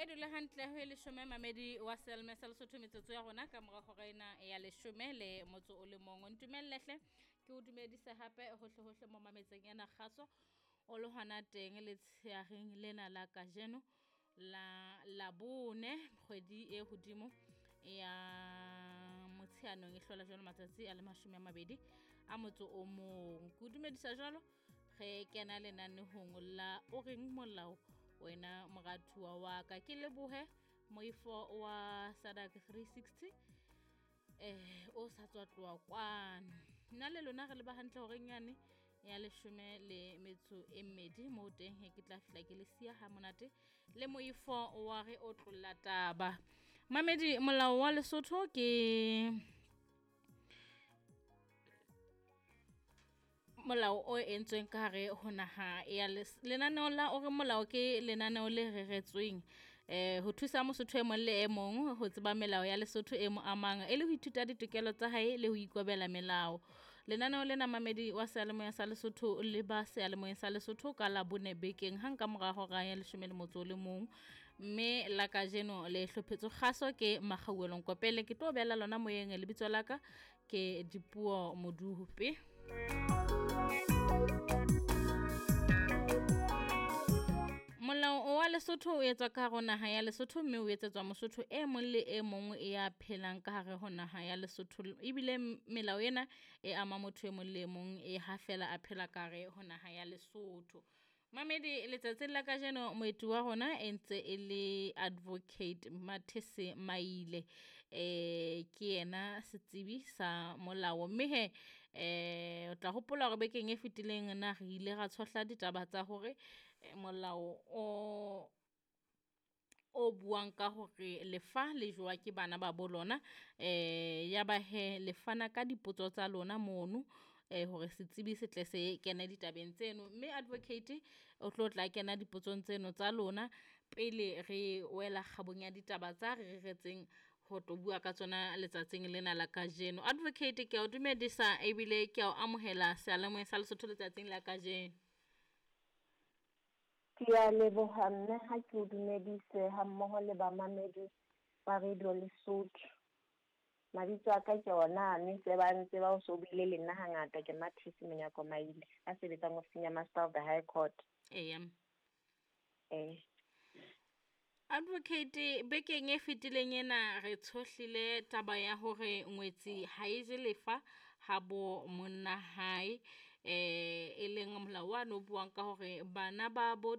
E dule hantle ho e leshome mamedi wa seyalemoya sa Lesotho metsotso ya rona ka mora hora ena ya leshome le motso o le mong. Ntumelle hle ke o dumedise hape hohle hohle mo mametseng ena kgaso o le hona teng letsheareng lena la kajeno la Labone kgwedi e hodimo ya Motsheanong e hlola jwalo matsatsi a le 21. Ke o dumedisa jwalo re kena lenanehong la o reng molao wena moratuwa wa ka. Ke lebohe moifo wa SADAG 360 o sa tswa tloha kwano. Nna le lona re leba hantle horeng yane ya 12 moo teng he ke tla fihla ke le siya ha monate le moifo wa re o tlolla taba. Mamedi, molao wa Lesotho ke molao o entsweng ka hare ho naha ya lenaneo la o re molao ke lenaneo le reretsweng ho thusa Mosotho e mong le e mong ho tseba melao ya Lesotho e mo amang e le ho ithuta ditokelo tsa hae le ho ikobela melao. Lenaneo lena mamedi wa seyalemoya sa Lesotho le ba seyalemoyeng sa Lesotho ka Labone bekeng hang ka mora hora ya 11, mme la kajeno le hlophetswe kgaso ke Makgauelong Kopele. Ke tlo beela lona moyeng, lebitso la ka ke Dipuo Modupe. Molao wa Lesotho o etswa ka hare ho naha ya Lesotho mme o etsetswa Mosotho e mong le e mong ya phelang ka hare ho naha ya Lesotho. Ebile melao ena e ama motho e mong le e mong e ha fela a phela ka hare ho naha ya Lesotho. Mamedi, letsatsing la kajeno moeti wa rona e ntse e le Advocate Mathese Maile, ke yena setsebi sa molao. Mme he o tla hopola hore bekeng e fetileng na re ile ra tshohla ditaba tsa hore molao o buang ka hore lefa le jowa ke bana ba bo lona, ya ba he le fana ka dipotso tsa lona mono hore setsebi se tle se kene ditabeng tseno. Mme advocate o tlo tla kena dipotsong tseno tsa lona pele re wela kgabong ya ditaba tsa re reretseng ho tlo bua ka tsona letsatsing lena la kajeno. Advocate, ke a o dumedisa ebile ke a o amohela seyalemoyeng sa Lesotho letsatsing la kajeno. Ke a leboha mme ha ke o dumedise ha mmoho le bamamedi ba Radio Lesotho. Mabitso a ka ke ona mme se ba ntse ba o so buile le nna hangata, ke Mathese Monyako Maile a sebetsang ofising ya Master of the High Court. Eya. Eh. Advocate, bekeng e fetileng ena re tshohlile taba ya hore ngwetsi ha e je lefa ha bo monna hae, e leng molao wa no buang ka hore bana ba bo